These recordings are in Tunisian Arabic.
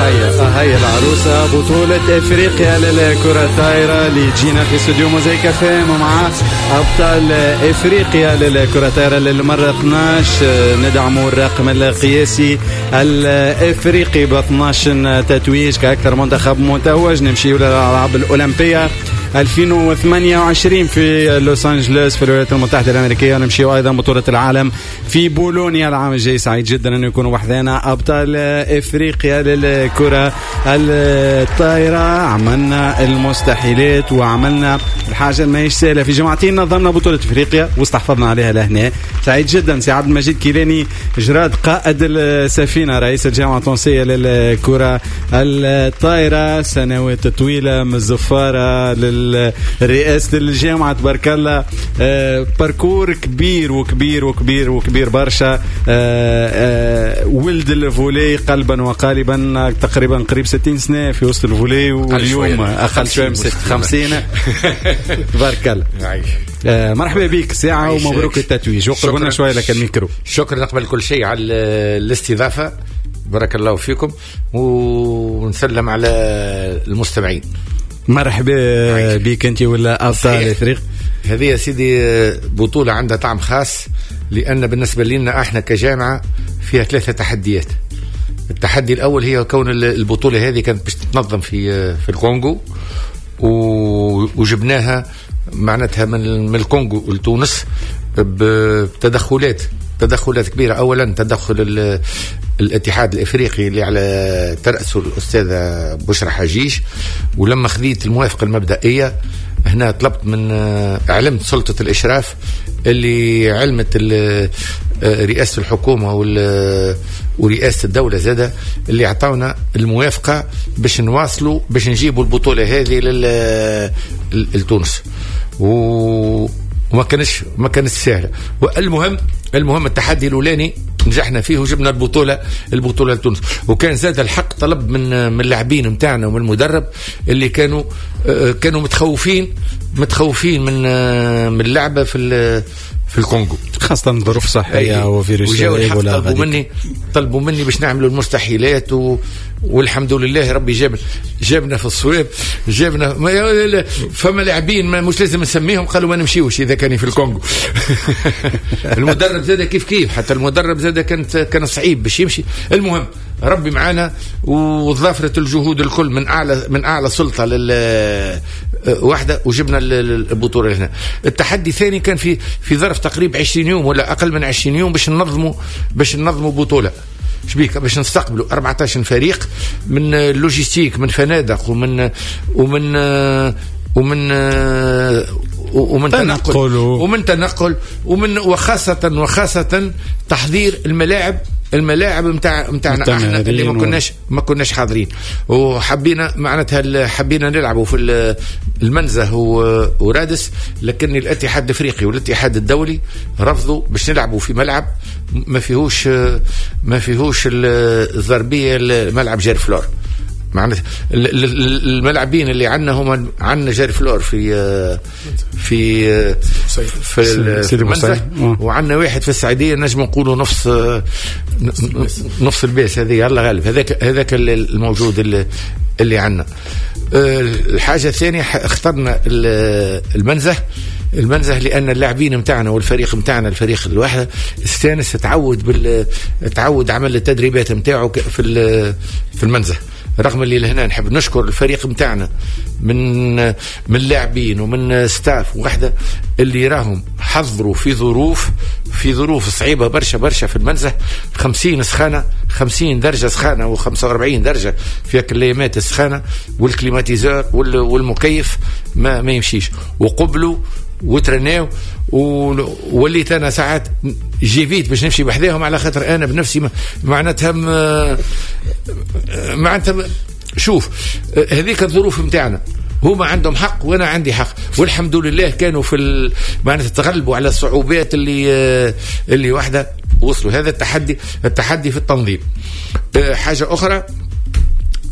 هيا العروسة، بطولة افريقيا للكرة الطايرة اللي تجينا في استوديو موزايك اف ام مع ابطال افريقيا للكرة الطايرة للمرة 12. ندعموا الرقم القياسي الافريقي ب 12 تتويج كأكثر منتخب متوج. نمشيو للالعاب الاولمبية 2028 في لوس انجلوس في الولايات المتحدة الامريكية، ونمشيو ايضا بطوله العالم في بولونيا العام الجاي. سعيد جدا انه يكونوا وحدنا ابطال افريقيا للكرة الطايره. عملنا المستحيلات وعملنا الحاجة ما هيش سهلة، في جمعتين نظمنا بطوله افريقيا واستحفظنا عليها لهنا. سعيد جدا سي عبد المجيد كيلاني جراد قائد السفينة، رئيس الجامعة التونسية للكرة الطايره، سنوات طويلة من الزفاره لرئاسة الجامعة، تبارك الله، parcours كبير وكبير وكبير وكبير برشا. ولد ال volley قلبا وقالبا، تقريبا قريب 60 سنة في وسط ال volley، واليوم اقل شوية من 50. تبارك الله. مرحبا بك ساعة ومبروك التتويج، وقربنا شوية لك الميكرو. شكرا قبل كل شيء على الاستضافة، بارك الله فيكم، ونسلم على المستمعين. مرحبا بك انت ولا ابطال افريقيا. هذه يا سيدي بطولة عندها طعم خاص، لأن بالنسبة لنا احنا كجامعة فيها 3 تحديات. التحدي الأول هي كون البطولة هذه كانت باش تتنظم في الكونغو، وجبناها معناتها من الكونغو لتونس بتدخلات كبيرة. أولا تدخل الاتحاد الإفريقي اللي على ترأسه الأستاذة بشرى حجيج، ولما خذيت الموافقة المبدئية هنا طلبت من علمت سلطة الإشراف اللي علمت رئاسة الحكومة ورئاسة الدولة زادة، اللي عطاونا الموافقة باش نواصلوا باش نجيبوا البطولة هذه لتونس، وما كانش سهلة. والمهم التحدي الأولاني نجحنا فيه وجبنا البطولة لتونس. وكان زاد الحق طلب من اللاعبين نتاعنا ومن المدرب اللي كانوا متخوفين من اللعبة في الكونغو، خاصة ظروف صحية وفيروس إيبولا. طلبوا مني باش نعملوا المستحيلات، والحمد لله ربي جابنا في الصواب، جابنا. فما لاعبين ما مش لازم نسميهم قالوا ما نمشيوش إذا كان في الكونغو. المدرب زاد كيف كيف، حتى المدرب زاد كان صعيب باش يمشي. المهم ربي معانا وظافرت الجهود الكل من أعلى سلطة واحدة، وجبنا البطولة هنا. التحدي الثاني كان في ظرف تقريبا 20 يوم ولا أقل من 20 يوم باش ننظموا بطولة شبيك، باش نستقبلوا 14 فريق من logistique، من فنادق، ومن ومن ومن ومن تنقل ومن وخاصة تحضير الملاعب نتاعنا احنا اللي ما كناش حاضرين. وحبينا معناتها حبينا نلعبوا في المنزه ورادس، لكن الاتحاد الافريقي والاتحاد الدولي رفضوا باش نلعبوا في ملعب ما فيهوش الضربيه، الملعب جيرفلور. معناتها الملعبين اللي عندنا هما عندنا جيرفلور في في في المنزه، وعندنا واحد في السعيديه، نجم نقولوا نص الباس. هذه الله غالب، هذاك الموجود اللي عندنا. الحاجة الثانية اخترنا المنزه لان اللاعبين نتاعنا والفريق نتاعنا، الفريق الواحد استانس، تعود عمل التدريبات نتاعو في المنزه. رغم اللي لهنا نحب نشكر الفريق متاعنا من لاعبين ومن staff وحده اللي راهم حضروا في ظروف صعيبة برشا برشا في المنزه، 50 سخانه، 50 درجه سخانه و45 درجه في هاك الايامات السخانه، وال climatiseur والمكيف ما يمشيش، وقبلوا وترناو. ووليت انا ساعات j'évite باش نمشي بحذاهم، على خاطر انا بنفسي معناتها شوف هذيك الظروف نتاعنا، هما عندهم حق وانا عندي حق، والحمد لله كانوا في معناتها تغلبوا على الصعوبات اللي واحدة وصلوا. هذا التحدي في التنظيم. حاجة اخرى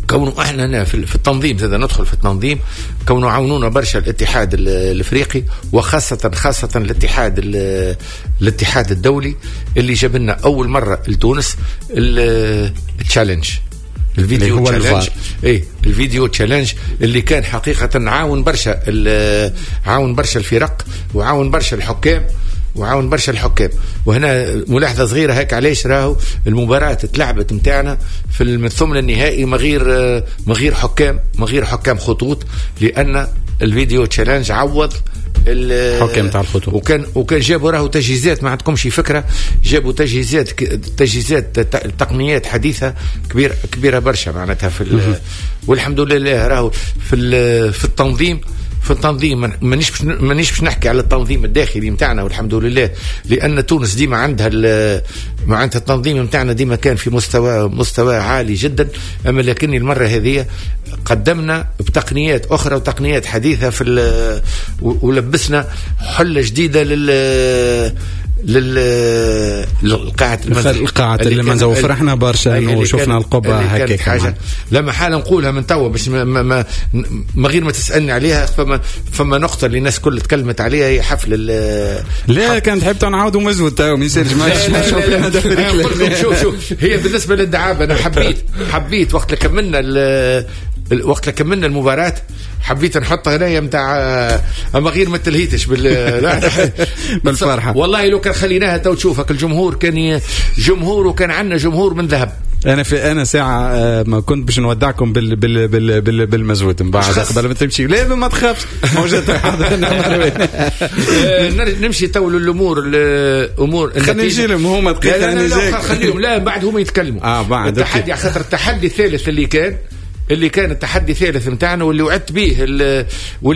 كونه احنا هنا في التنظيم، زاد ندخل في التنظيم، كونه عاونونا برشا الاتحاد الافريقي، وخاصة خاصة الاتحاد الدولي اللي جاب لنا اول مرة لتونس ال challenge. ال video challenge، اي ال video challenge اللي كان حقيقة عاون برشا، عاون برشا الفرق وعاون برشا الحكام وعاون برشا الحكام. وهنا ملاحظة صغيرة هيك، علاش راهو المباراة تلعبت نتاعنا في الثمن النهائي ما غير حكام، ما غير حكام خطوط، لان ال video challenge عوض الحكام تاع الخطوط. وكان جابوا راهو تجهيزات، ما عندكمش فكرة، جابوا تجهيزات تقنيات حديثه كبيرة برشا معناتها في والحمد لله راهو في التنظيم، في التنظيم مانيش باش نحكي على التنظيم الداخلي نتاعنا والحمد لله، لان تونس ديما عندها معناتها التنظيم نتاعنا ديما كان في مستوى عالي جدا. اما لكن المرة هذه قدمنا بتقنيات اخرى وتقنيات حديثه في ولبسنا حله جديدة للقاعة المنزل، القاعة المنزل، وفرحنا برشا انه شفنا القبة هكاك حاجة. لما حالا نقولها من توا باش ما غير ما تسألني عليها، فما نقطة اللي الناس كل تكلمت عليها هي حفل لا كان تحب نعاودوا مزود تو ما يصيرش. شوف هي بالنسبة للدعابة، أنا حبيت وقت كملنا المباراة حبيت نحط هنايا نتاع، اما غير ما تلهيتش بالفرحه. والله لو كان خليناها تو تشوفك الجمهور كان جمهور، وكان عندنا جمهور من ذهب. انا ساعة ما كنت باش نودعكم بال بال بال بال بالمزود من بعد قبل ما تمشي. لا ما تخافش موجود حاضر. نمشي تو للامور الامور خلينا نجي لهم هما دقيقة. لا خليهم، لا بعد هما يتكلموا. بعد التحدي، خاطر التحدي الثالث اللي كان التحدي الثالث نتاعنا واللي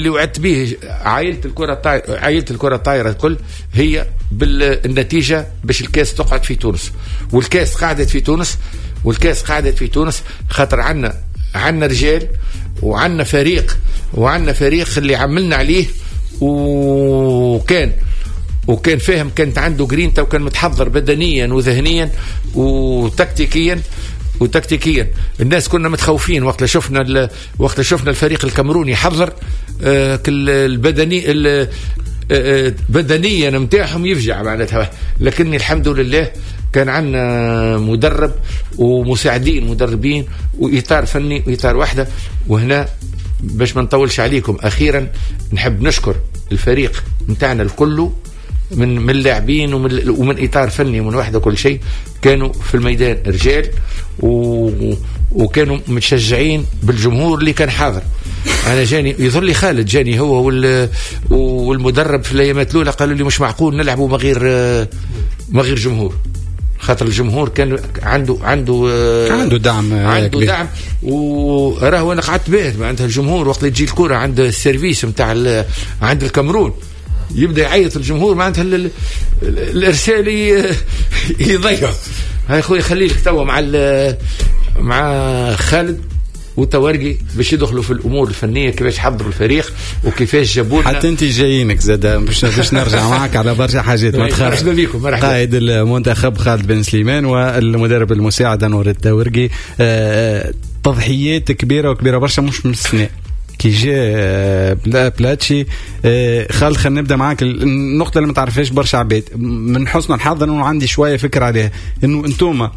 وعدت به عائلة الكره الطايره الكل، هي بالنتيجة باش الكاس تقعد في تونس. والكاس قعدت في تونس، والكاس قعدت في تونس خاطر عندنا رجال وعندنا فريق، وعندنا فريق اللي عملنا عليه، وكان فاهم، كانت عنده جرينتا، وكان متحضر بدنيا وذهنيا وتكتيكيا. الناس كنا متخوفين وقت شفنا الفريق الكاميروني حضر البدني بدنيا نتاعهم يفجع معناتها، لكن الحمد لله كان عندنا مدرب ومساعدين مدربين وإطار فني وإطار واحدة. وهنا باش ما نطولش عليكم، أخيرا نحب نشكر الفريق نتاعنا الكل من اللاعبين ومن إطار فني ومن واحدة كل شيء، كانوا في الميدان رجال وكانوا متشجعين بالجمهور اللي كان حاضر. أنا جاني يظل لي خالد جاني هو والمدرب في الأيامات الأولى قالوا لي مش معقول نلعبوا ما غير جمهور، خاطر الجمهور كان عنده دعم، عنده دعم. وراه انا قعدت باهت معناتها الجمهور وقت اللي تجي الكرة عند ال service نتاع عند الكاميرون يبدا يعيط الجمهور، معناتها الارسال يضيع. هاي خويا خليك توا مع خالد وتوارقي باش يدخلوا في الامور الفنية، كيفاش حضروا الفريق وكيفاش جابوا لنا. حتى انت جايينك زاد باش نرجع معك على برشا حاجات ما تخافش. مرحبا بكم، مرحبا. قائد المنتخب خالد بن سليمان والمدرب المساعد انور التوارقي، تضحيات كبيرة وكبيره برشا مش من السنة كي جاء بلاتشي. خالد خلينا نبدا معاك النقطة اللي ما تعرفهاش برشا عباد، من حسن الحظ انه عندي شوية فكرة عليها، انه انتوما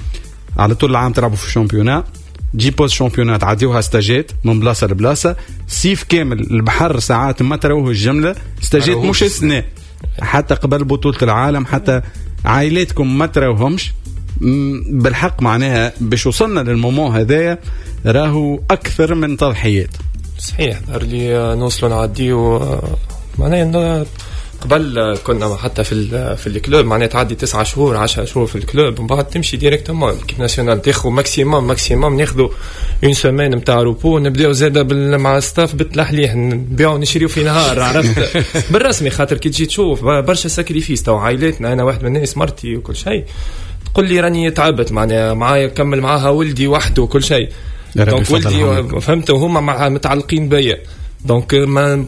على طول العام تلعبوا في ال championnat، تجي pause championnat تعديوها ستاجات من بلاصة لبلاصه، صيف كامل البحر ساعات ما تروه الجملة، ستاجات مش السنة حتى قبل بطوله العالم، حتى عائلاتكم ما تروهمش بالحق. معناها باش وصلنا لل moment هذايا راهو اكثر من تضحيات. صحيح، ظهر لي نوصلوا نعديو معناها قبل كنا حتى في ال club معناها تعدي 9 شهور 10 شهور في ال club ومن بعد تمشي directement l'équipe nationale، تاخذ maximum ناخذوا une semaine نتاع repos، نبداو زاده مع staff بالتلحليح، نبيعوا نشريو في نهار، عرفت بالرسمي. خاطر كي تجي تشوف برشا sacrifices تو عائلاتنا، انا واحد من الناس مرتي وكل شيء تقول لي راني تعبت معناها معايا كمل معاها ولدي وحده وكل شيء، donc ولدي فهمت وهما مع متعلقين بيا، donc ما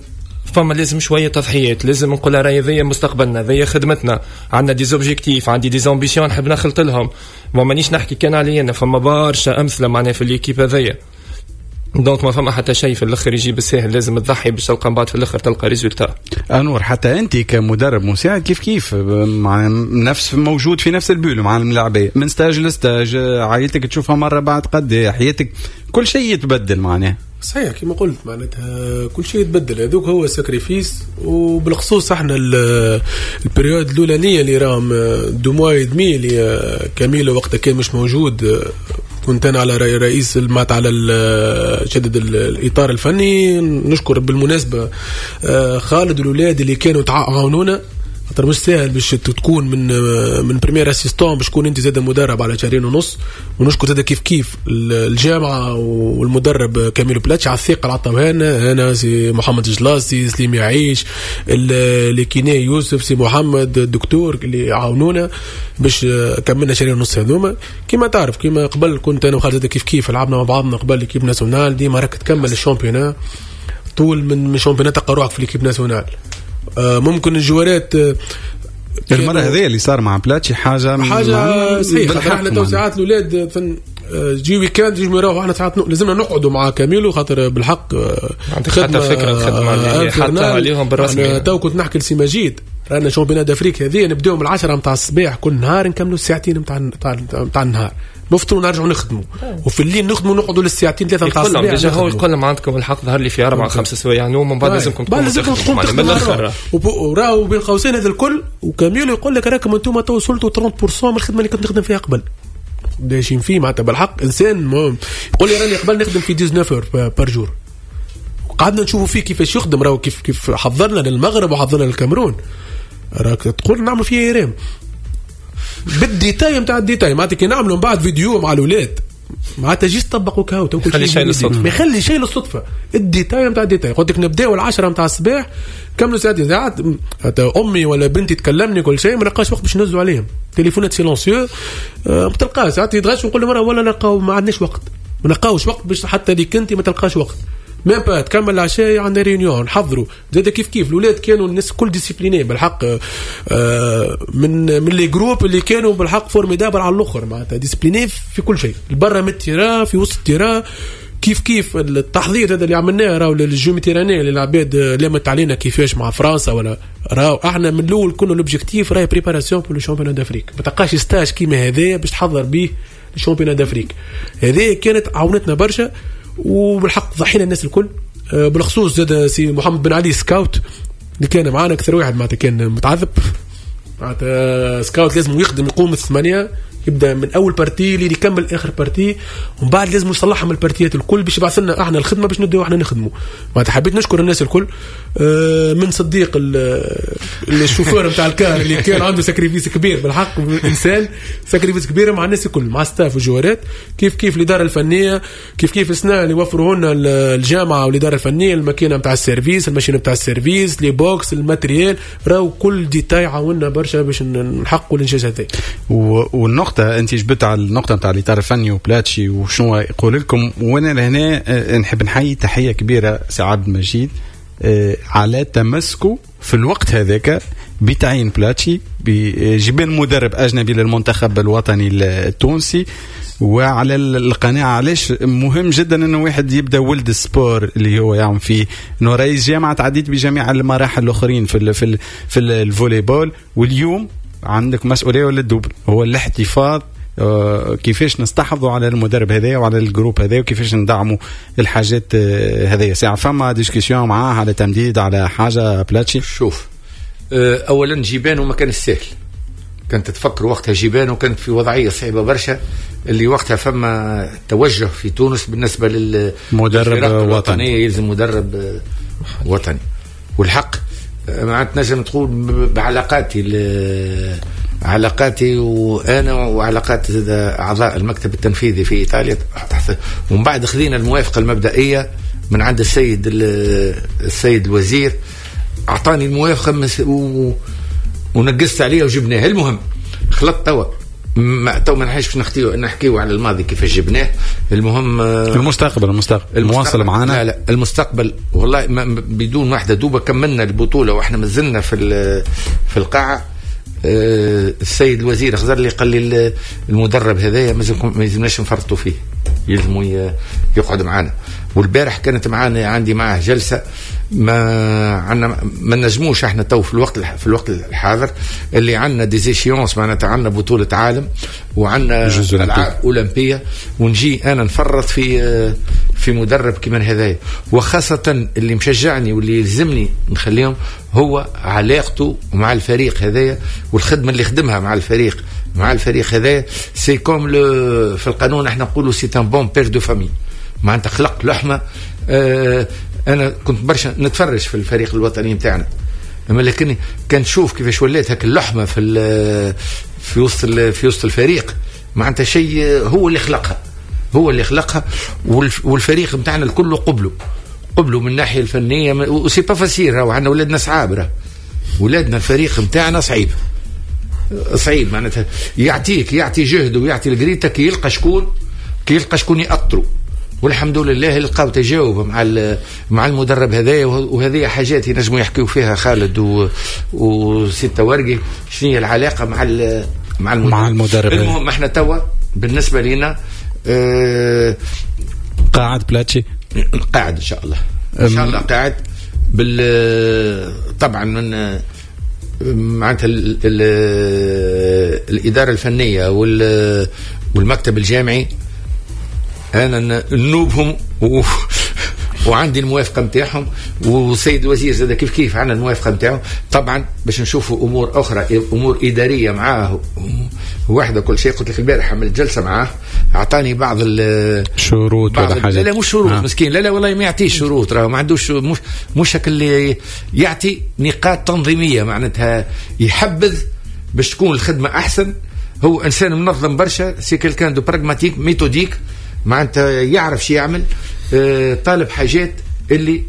فما لازم شوية تضحيات، لازم نقول راهي ذي مستقبلنا، ذي خدمتنا، عندنا des objectifs، عندي des ambitions نحب نخلط لهم، ومانيش نحكي كان عليا انا، فما برشا امثلة معناها في l'équipe هذيا. donc ما فما حتى شيء في الاخر يجي بالساهل، لازم تضحي باش تلقى من بعد في الاخر تلقى résultat. انور، حتى انت كمدرب مساعد كيف كيف مع نفس موجود في نفس ال bulle مع الملاعبيه من stage ل stage، عائلتك تشوفها مرة بعد قد حياتك كل شيء يتبدل معناه. صحيح كما قلت، معناتها كل شيء يتبدل، هذوك هو sacrifice. وبالخصوص احنا ال période الاولانية اللي راهم 2 mois et demi اللي كاميلو وقتها كان مش موجود، كنت انا على رئيس المات على شدد الاطار الفني. نشكر بالمناسبة خالد والاولاد اللي كانوا تعاونونا، خاطر مش ساهل باش تكون من premier assistant باش تكون انت زاد مدرب على 2.5 شهور. ونشكر زاد كيف كيف الجامعة والمدرب كاميلو بلاتش على الثقة اللي عطاوها لنا، انا سي محمد جلاسي، سليم يعيش، les kinés يوسف، سي محمد الدكتور اللي عاونونا باش كملنا 2.5 شهور هذوما. كيما تعرف كيما قبل كنت انا وخالد كيف كيف لعبنا مع بعضنا قبل l'équipe nationale، ديما راك تكمل ال championnat طول من championnat تلقى روحك في l'équipe nationale. ممكن الجوارات المرة هذه اللي صار مع بلاتشي حاجة صحيح. احنا تو ساعات الاولاد جي week-end يجوا يروحوا، احنا ساعات لازمنا نقعدوا مع كاميلو خاطر بالحق عندك حتى فكرة الخدمة حتى عليهم بالرسمي. تو كنت نحكي لسي مجيد رانا championnat d'Afrique هذه نبداو من 10 نتاع الصباح كل نهار نكملوا الساعتين نتاع النهار، نفطروا ونرجعوا نخدموا، وفي الليل نخدموا نقعدوا للساعتين 3 نتاع الصباح. déjà هو يقول لهم عندكم الحق ظهر لي في 4 5 سوايع نوم ومن بعد لازمكم تقوموا من الاخر. وراهو بين قوسين هذا الكل، وكاميلو يقول لك راكم انتم تو وصلتوا 30% من الخدمة اللي كنت نخدم فيها قبل. دايشين فيه معناتها بالحق انسان يقول لي راني قبل نخدم في 19 par jour. قعدنا نشوفوا فيه كيفاش يخدم، راهو كيف حضرنا للمغرب وحضرنا للكاميرون، راك تقول نعمل فيه IRM بال détail نتاع ال détail. معناتها كي نعملوا من بعد فيديو مع الاولاد معناتها juste طبقوا كاو ما يخلي شيء للصدفه، ما يخلي شيء للصدفه. ال détail نتاع ال détail قلت لك نبداو 10 نتاع الصباح كملوا ساعتين، ساعات امي ولا بنتي تكلمني كل شيء ما نلقاش وقت باش نهزوا عليهم، تليفونات silencieux ما تلقاش. ساعات يتغش ونقول لهم ولا نلقاو ما عندناش وقت، ما نلقاوش وقت باش حتى ليك انت ما تلقاش وقت. même pas تكمل العشاء عندنا réunion نحضروا زاد كيف كيف. الاولاد كانوا الناس كل disciplinés بالحق، من les groupes اللي كانوا بالحق formidables على الاخر، معناتها disciplinés في كل شيء، برا من ال terrain في وسط ال terrain كيف كيف. التحضير هذا اللي عملناه راهو لل Jeux Méditerranéens اللي العباد لامت علينا كيفاش مع فرنسا ولا، راهو احنا من الاول كنا l'objectif راهي préparation pour le championnat d'Afrique. ما تلقاش stage كيما هذايا باش تحضر به ال championnat d'Afrique. هذه كانت عاونتنا برشا وبالحق ضحينا الناس الكل، بالخصوص زاد سي محمد بن علي scout اللي كان معانا اكثر واحد معناتها كان متعذب. معناتها scout لازم يخدم يقوم 8 يبدا من اول partie اللي يكمل اخر partie، ومن بعد لازم يصلحها من البارتيات الكل باش يبعث لنا احنا الخدمة باش نبداو احنا نخدموا. معناتها حبيت نشكر الناس الكل، من صديق الشوفور نتاع ال car اللي كان عنده sacrifice كبير بالحق، انسان sacrifice كبير مع الناس الكل، مع staff وجوارات، كيف كيف الادارة الفنية، كيف كيف السنة اللي وفروا لنا الجامعة والادارة الفنية الماكينة نتاع ال service، ال machine نتاع ال service، les box، ال matériel، راهو كل détail عاوننا برشا باش نحققوا الانجاز هذا. والنقطة انت جبت على النقطة نتاع الاطار الفني وبلاتشي وشنو يقول لكم، وانا لهنا نحب نحيي تحية كبيرة سي عبد المجيد على تمسكه في الوقت هذاك بتعيين بلاتشي بجيبان مدرب اجنبي للمنتخب الوطني التونسي، وعلى القناعة. علاش مهم جدا انه واحد يبدا ولد ال sport اللي هو يعمل فيه، انه رئيس جامعه تعديت بجميع المراحل الاخرين في في في ال volley-ball، واليوم عندك مسؤولية ولا ال double هو الاحتفاظ، كيفاش نستحفظوا على المدرب هذايا وعلى ال groupe هذايا وكيفاش ندعموا الحاجات هذايا. ساعة فما discussion معاه على تمديد على حاجة بلاتشي. شوف اولا جيبانو ما كان السهل، كانت تفكر وقتها جيبانو كانت في وضعية صعبة برشا، اللي وقتها فما توجه في تونس بالنسبة للمدرب الوطني، يلزم مدرب وطني. والحق معناتها نجم تقول بعلاقاتي علاقاتي وانا وعلاقات اعضاء المكتب التنفيذي في ايطاليا، ومن بعد خذينا الموافقة المبدئية من عند السيد الوزير، اعطاني الموافقة ونقصت عليها وجبناها. المهم خلطت توا تو ما نحيش نحكيو على الماضي كيف جبناه. المهم المستقبل مواصل معنا. لا لا المستقبل والله بدون واحدة دوبه كملنا البطولة واحنا مازلنا في القاعة. السيد الوزير خزر لي قال لي المدرب هذايا ما يلزمناش نفرطوا فيه. يلزموا يقعد معنا. والبارح كانت معنا، عندي معاه جلسه، ما عندنا ما نجموش احنا تو في الوقت الحاضر اللي عندنا des échéances، معناتها عندنا بطوله عالم وعندنا العاب اولمبيه، ونجي انا نفرط في مدرب كيما هذايا. وخاصة اللي مشجعني واللي يلزمني نخليهم هو علاقته مع الفريق هذايا والخدمة اللي خدمها مع الفريق هذايا. c'est comme في القانون احنا نقولوا c'est un bon père de famille، معناتها خلق لحمه. انا كنت برشا نتفرج في الفريق الوطني نتاعنا، اما لكن كان نشوف كيفاش ولات هاك اللحمة في وسط الفريق، معناتها شيء هو اللي خلقها، والفريق نتاعنا الكل قبلوا من الناحية الفنية. و c'est pas facile، راهو عندنا ولادنا صعاب، ولادنا الفريق نتاعنا صعيب معناتها يعطي جهده ويعطي الجريتا كي يلقى شكون يأطروا. والحمد لله لقاو تجاوب مع المدرب هذايا، وهذه حاجات ينجموا يحكيو فيها خالد وسي ورقي، شنو هي العلاقة مع المدرب. المهم احنا توا بالنسبة لنا قاعد بلاتشي، قاعد ان شاء الله، قاعد طبعا من معناتها الادارة الفنية والمكتب الجامعي انا نوبهم وعندي الموافقة نتاعهم، والسيد الوزير زاد كيف كيف عندنا الموافقة نتاعو. طبعا باش نشوفوا امور اخرى، امور ادارية معاه واحدة كل شيء. قلت لك البارح عملت جلسه معاه، اعطاني بعض الشروط ولا حاجة. لا مش شروط مسكين، لا والله ما يعطيش شروط، راه ما عندوش مش اللي يعطي نقاط تنظيميه، معناتها يحبذ باش تكون الخدمة احسن. هو انسان منظم برشا، c'est quelqu'un de pragmatique méthodique، معناتها يعرف شو يعمل. طالب حاجات اللي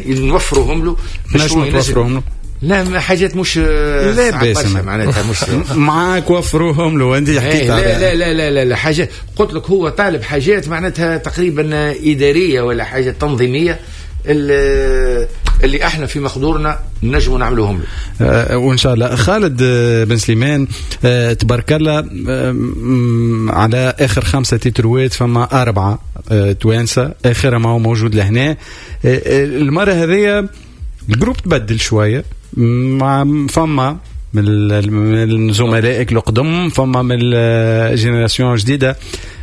نوفرهم له، باش نوفرهم له. لا حاجات مش لا باس معناتها مش معاك وفروهم له. انت حكيت لا لا لا لا لا, لا حاجة قلت لك هو طالب حاجات معناتها تقريبا ادارية ولا حاجة تنظيميه اللي احنا في مقدورنا نجموا نعملوهم له. وان شاء الله. خالد بن سليمان، تبارك الله على اخر 5 تيتروات فما 4 توانسة، اخرها ما هو موجود لهنا. المرة هذه ال groupe تبدل شوية، مع فما من زملائك القدم، فما من ال génération جديدة.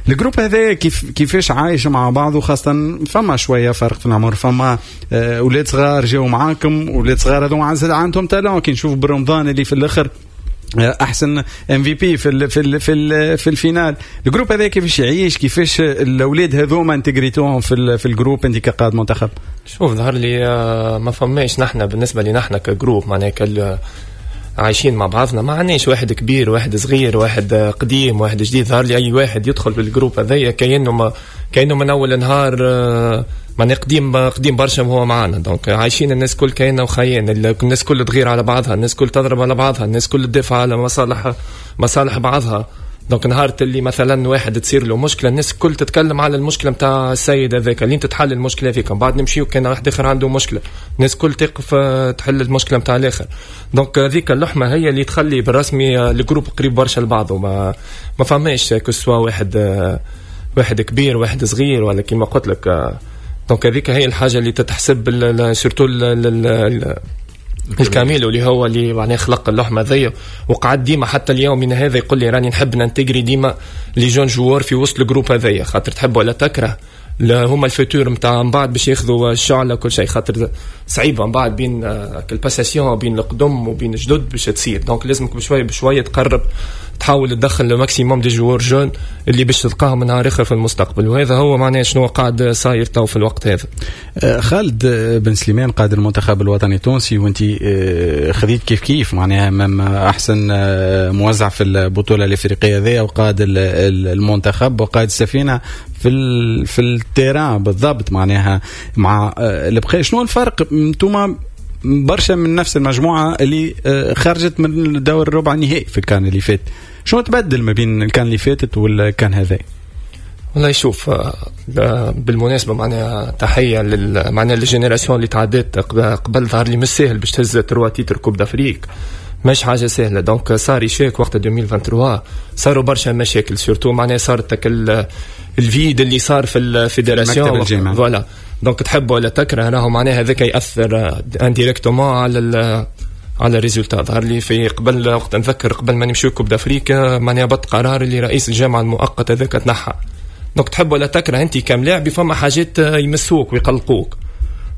ال groupe هذا كيفاش عايش مع بعضه، خاصة فما شوية فرق في العمر، فما أولاد صغار جاوا معاكم، أولاد صغار هذو عندهم talent. كي نشوف برمضان اللي في الآخر احسن MVP في ال في ال في ال في ال finale. ال groupe هذا كيفاش يعيش، كيفاش الاولاد هذوما انتجريتوهم في ال groupe انت كقائد منتخب؟ شوف ظهر لي ما فماش نحن بالنسبة لي نحن ك groupe معناها عايشين مع بعضنا، ما عندناش واحد كبير واحد صغير واحد قديم واحد جديد. ظهر لي اي واحد يدخل بال groupe هذايا كأنه من اول نهار معناها قديم برشا وهو معانا. donc عايشين الناس كل كأنه وخيان، الناس كل تغير على بعضها، الناس كل تضرب على بعضها، الناس كل تدافع على مصالح بعضها. donc نهار اللي مثلا واحد تصير له مشكلة الناس الكل تتكلم على المشكلة نتاع السيد هذاك اللي تتحل المشكلة هذيك، من بعد نمشيو كان واحد اخر عنده مشكلة الناس الكل تقف تحل المشكلة نتاع الاخر. donc هذيك اللحمة هي اللي تخلي بالرسمي ال groupe قريب برشا لبعضه، ما فماش que ce soit واحد كبير واحد صغير ولا كيما قلت لك. donc هذيك هي الحاجة اللي تتحسب surtout الكاميلو اللي هو اللي معناه خلق اللحمة ذي، وقعد ديما حتى اليوم من هذا يقول لي راني نحب ننتجري ديما les jeunes joueurs في وسط ال groupe هذايا، خاطر تحب ولا تكره هما ال futur نتاع من بعد باش ياخذوا الشعلة كل شيء، خاطر صعيبة من بعد بين ال passation بين القدم وبين الجدد باش تصير. donc لازمك بشوية بشوية تقرب تحاول تدخل le maximum des joueurs jeunes اللي باش تلقاهم نهار اخر في المستقبل، وهذا هو معناه شنو قاعد صاير تو في الوقت هذا. خالد بن سليمان قائد المنتخب الوطني التونسي، وانت خذيت كيف كيف معناها احسن موزع في البطولة الافريقية ذي، وقائد المنتخب وقائد السفينة في ال terrain بالضبط معناها مع البقية. شنو الفرق انتوما برشا من نفس المجموعة اللي خرجت من الدور الربع النهائي في الكان اللي فات، شنو تبدل ما بين الكان اللي فاتت والكان هذا؟ والله شوف بالمناسبة معناها تحية معناها لل génération اللي تعدت قبل، ظهر لي مش ساهل باش تهز 3 titres Coupe d'Afrique، مش حاجة سهلة. donc صار échec وقت 2023 صاروا برشا مشاكل، surtout معناها صارت ال vide اللي صار في ال fédération. voilà donc تحب ولا تكره راهو معناها هذاك ياثر indirectement على ال résultat. ظهر لي في قبل وقت نذكر قبل ما نمشيو Coupe d'Afrique معناها بط قرار اللي رئيس الجامعة المؤقت هذاك تنحى. donc تحب ولا تكره انت كملاعب فما حاجات يمسوك ويقلقوك.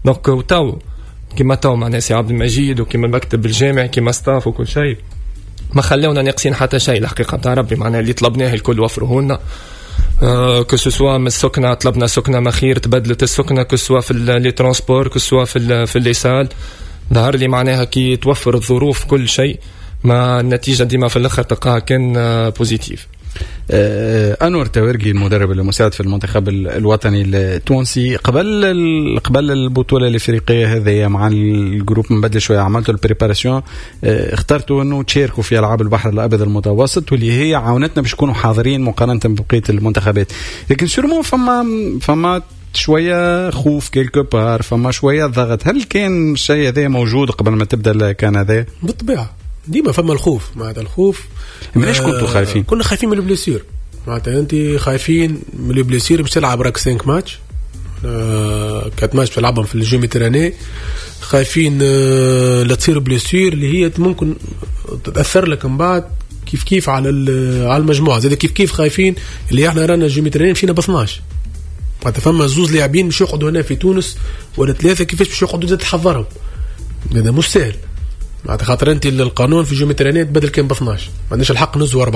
donc وتو كيما تو معناها سي عبد المجيد وكيما المكتب الجامعي كيما staff وكل شيء ما خلونا ناقصين حتى شيء الحقيقة نتاع ربي. معناها اللي طلبناه الكل وفروه لنا، que ce soit من السكنة طلبنا سكنه ما خير تبدلت السكنة، que ce soit في les transports، que ce soit في les salles. ظهر لي معناها كي توفر الظروف كل شيء ما النتيجة ديما في الاخر تلقاها كان positive. انور تاورجي المدرب المساعد في المنتخب الوطني التونسي، قبل البطولة الافريقية هذه مع ال groupe مبدل شوية عملتوا ال préparation، اخترتوا انه تشاركوا في العاب البحر الابيض المتوسط واللي هي عاونتنا باش نكونوا حاضرين مقارنة ببقية المنتخبات، لكن sûrement فما شوية خوف quelque part، فما شوية ضغط. هل كان الشيء هذا موجود قبل ما تبدا ال CAN هذا؟ بالطبيعة ديما فما الخوف، معناتها الخوف. مناش كنتوا خايفين؟ كنا خايفين من ال blessures، معناتها انت خايفين من ال blessures باش تلعب راك 5 ماتش 4 ماتش تلعبهم في ال Jeux Méditerranéens، خايفين لا تصير blessure اللي هي ممكن تاثر لك من بعد كيف كيف على المجموعة. زاد كيف كيف خايفين اللي احنا رانا Jeux Méditerranéens مشينا ب 12، معناتها فما زوز لاعبين باش يقعدوا هنا في تونس ولا ثلاثة، كيفاش باش يقعدوا زاد تحضرهم؟ هذا مش سهل، معناتها خاطر انت القانون في Jeux Méditerranéens تبدل كان ب 12، ما عندناش الحق نزو 14،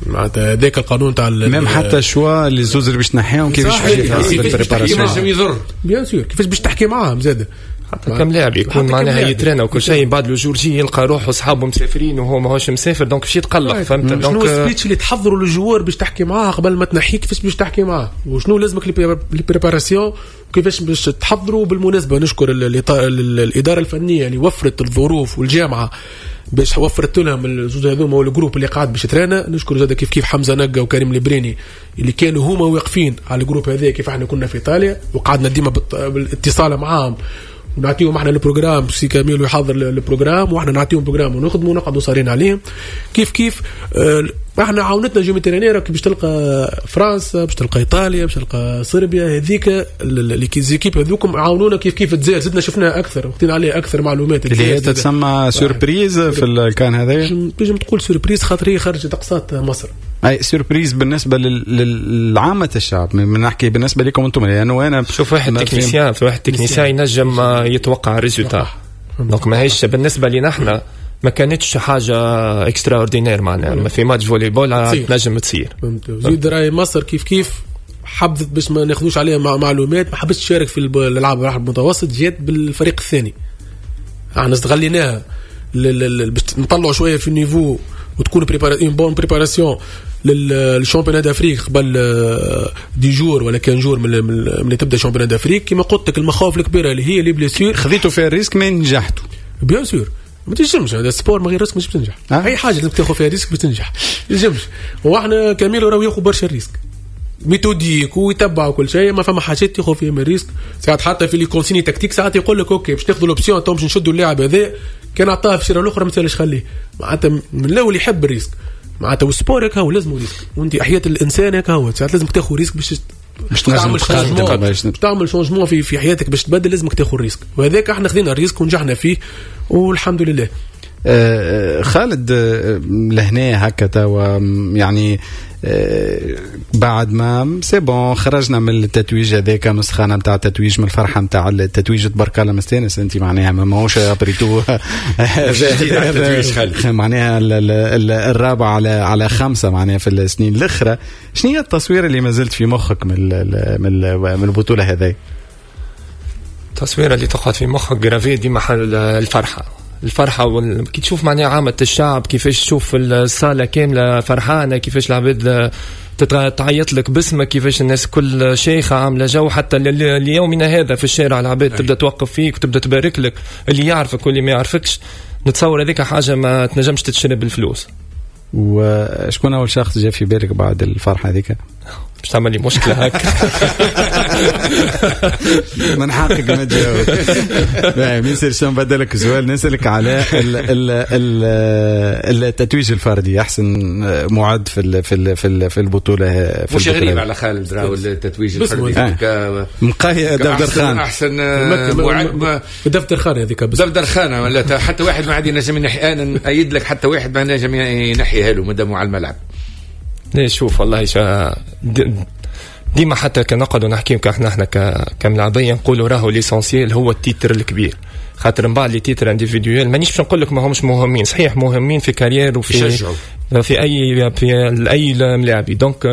معناتها هذاك القانون تاع même حتى choix اللي زوز اللي باش تنحيهم كيفاش باش كيفاش يضر bien sûr كيفاش باش تحكي معاهم زاد حتى كم لاعب يكون معناها يترينا وكل شيء، بعد le jour J يلقى روحه اصحابه مسافرين وهو ماهوش مسافر، donc باش يتقلق. فهمت؟ donc شنو ال speech اللي تحضروا لل joueur باش تحكي معاه قبل ما تنحيه، كيفاش باش تحكي معاه وشنو لازمك les préparations وكيفاش باش تحضروا. بالمناسبة نشكر الادارة الفنية اللي وفرت الظروف والجامعة باش وفرت لهم الزوز هذوما وال groupe اللي قاعد باش ترانا. نشكر زاد كيف كيف حمزة نقا وكريم البريني اللي كانوا هما واقفين على ال groupe هذا كيف احنا كنا في ايطاليا وقعدنا ديما بالاتصال معاهم ونعطيهم احنا ال programme، سي كاميلو يحضر ال programme واحنا نعطيهم programme ونخدموا ونقعدوا صارين عليهم. كيف كيف احنا عاونتنا Jeux Méditerranéens باش تلقى فرنسا، باش تلقى ايطاليا، باش تلقى صربيا، هذيك les équipes هذوكم عاونونا كيف كيف. الجزائر زدنا شفناها اكثر وخدينا عليها اكثر معلومات اللي هي تتسمى surprise في ال CAN هذا، تنجم تقول surprise خاطر هي خرجت اقصات مصر. اي surprise بالنسبة للعامة الشعب، من نحكي بالنسبة لكم انتم، لانه انا شوف واحد technicien، في واحد technicien ينجم يتوقع ال résultat، donc ماهيش بالنسبة لنا احنا ما كانتش حاجة extraordinaire، معناها في match volley-ball تنجم تصير. زيد راي مصر كيف كيف حبت باش ما ناخذوش عليها معلومات، ما حبتش تشارك في الالعاب البحر المتوسط، جات بالفريق الثاني. احنا استغليناها باش نطلعوا شوية في ال niveau وتكون une bonne préparation لل championnat d'Afrique قبل 10 jours ولا 15 jours من تبدا championnat d'Afrique. كيما قلت لك المخاوف الكبيرة اللي هي les blessures، خذيتوا فيها ال risque ما نجحتوا bien sûr. ما تنجمش هذا ال sport من غير risque مش بتنجح. اي حاجة لازم تاخذ فيها risque باش تنجح، تنجمش. واحنا كاميلو راهو ياخذ برشا risque méthodique ويتبع كل شيء، ما فما حاجات تاخذ فيهم risque. ساعات حتى في les consignes tactiques ساعات يقول لك OK باش تاخذوا l'option تو باش نشدوا اللاعب هذا، كان عطاه في الشيره الاخرى ما تسالش خليه. معناتها من الاول يحب ال risque، معناتها وال sport هكا هو لازم risque، وانت حياة الانسان هكا هو ساعات لازم تاخذ risque باش تعمل changement في حياتك باش تبدل، لازمك تاخذ risque، وهذاك احنا خذينا ال risque ونجحنا فيه والحمد لله. خالد لهنا هكا توا يعني بعد ما c'est bon خرجنا من التتويج هذاك، من السخانه نتاع التتويج، من الفرحة نتاع التتويج، تبارك الله مستانس انت معناها ماهوش après tout معناها الرابع على خمسة معناها في السنين الاخرى. شنو هي التصوير اللي ما زلت في مخك من البطولة هذه؟ التصويره اللي تقعد في مخك gravée ديما الفرحة، الفرحة كي تشوف معناها عامة الشعب كيفاش تشوف الصاله كاملة فرحانة، كيفاش العباد تعيط لك باسمك، كيفاش الناس كل شيخه عامله جو، حتى ليومنا هذا في الشارع العباد تبدا توقف فيك وتبدا تبارك لك، اللي يعرفك واللي ما يعرفكش. نتصور هذيك حاجة ما تنجمش تتشري بالفلوس. وشكون اول شخص جا في بالك بعد الفرحة هذيك؟ باش تعمل لي مشكلة هكا. من حقك ما تجاوب. باهي ميسير، نبدلك سؤال، نسالك على التتويج الفردي، احسن معد في في في في البطولة. في مش غريب على خالد راهو التتويج الفردي مقاهي دفتر خان، احسن معد دفتر خان هذيك، دفتر خان ولا حتى واحد ما عاد ينجم ينحي. انا نأيد لك حتى واحد ما نجم ينحيها له مادام على الملعب. ليه شوف والله ديما حتى كنقعدوا نحكيو احنا كملاعبيه نقولوا راهو l'essentiel هو ال titre الكبير، خاطر من بعد les titres individuels مانيش باش نقول لك ما همش مهمين، صحيح مهمين في carrière وفي في اي في اي ملاعبي. donc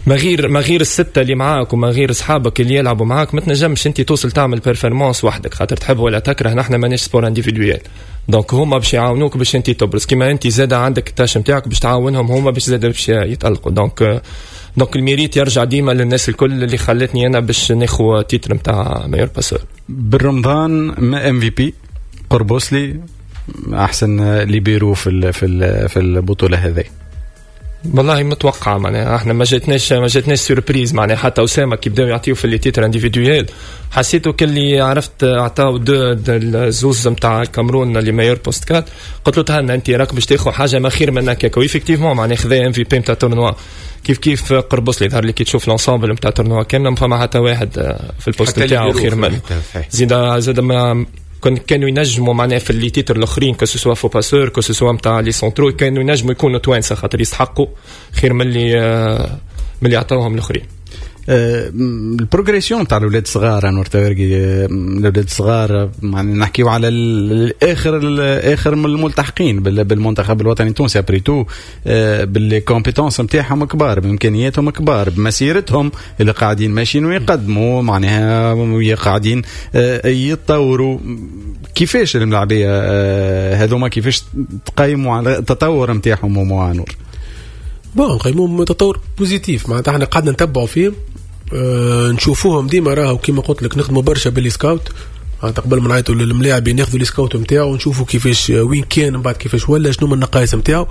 ما غير الستة اللي معاك وما غير اصحابك اللي يلعبوا معاك ما تنجمش انت توصل تعمل performance وحدك، خاطر تحب ولا تكره نحن ماناش sport individuel. donc هما باش يعاونوك باش انت تبرز، كيما انت زاد عندك ال tâche نتاعك باش تعاونهم هما باش زاد باش يتالقوا. donc ال mérite يرجع ديما للناس الكل اللي خلتني انا باش ناخذ titre نتاع meilleur passeur. بالرمضان ما MVP قربوسلي احسن ليبيرو في في في البطولة هذه. والله متوقع معناها احنا ما جاتناش surprise معناها. حتى اسامة كي بداو يعطيو في les titres individuels حسيتو كلي عرفت عطاو deux الزوز نتاع الكاميرون les meilleurs postes quatre، قلت له تهنى انت راك باش تاخذ حاجة ما خير من هكاك. و effectivement معناها خذا MVP نتاع tournoi. كيف قربص لي ظهر لي كي تشوف l'ensemble نتاع tournoi كاملة ما فما حتى واحد في ال poste نتاعو خير منه. زيد ما كانوا ينجموا معناها في les titres الاخرين que ce soit faux passeur que ce soit نتاع les centraux كانوا ينجموا يكونوا توانسة خاطر يستحقوا خير من اللي عطاوهم الاخرين. ال progression تاع الاولاد الصغار انور تورقي، الاولاد الصغار يعني نحكيو على الاخر من الملتحقين بالمنتخب الوطني التونسي après tout ب les compétences نتاعهم كبار، بامكانياتهم كبار، بمسيرتهم اللي قاعدين ماشيين ويقدموا معناها قاعدين يتطوروا. كيفاش الملاعبيه هذوما كيفاش تقيموا على التطور نتاعهم انور؟ bon نقيموهم تطور positif معناتها احنا قعدنا نتبعوا فيهم نشوفوهم ديما راهو كيما قلت لك نخدموا برشا ب les scouts معناتها قبل ما نعيطوا للملاعبين ناخذوا les scouts نتاعو ونشوفوا كيفاش وين كان من بعد كيفاش ولا شنو من النقائص نتاعو.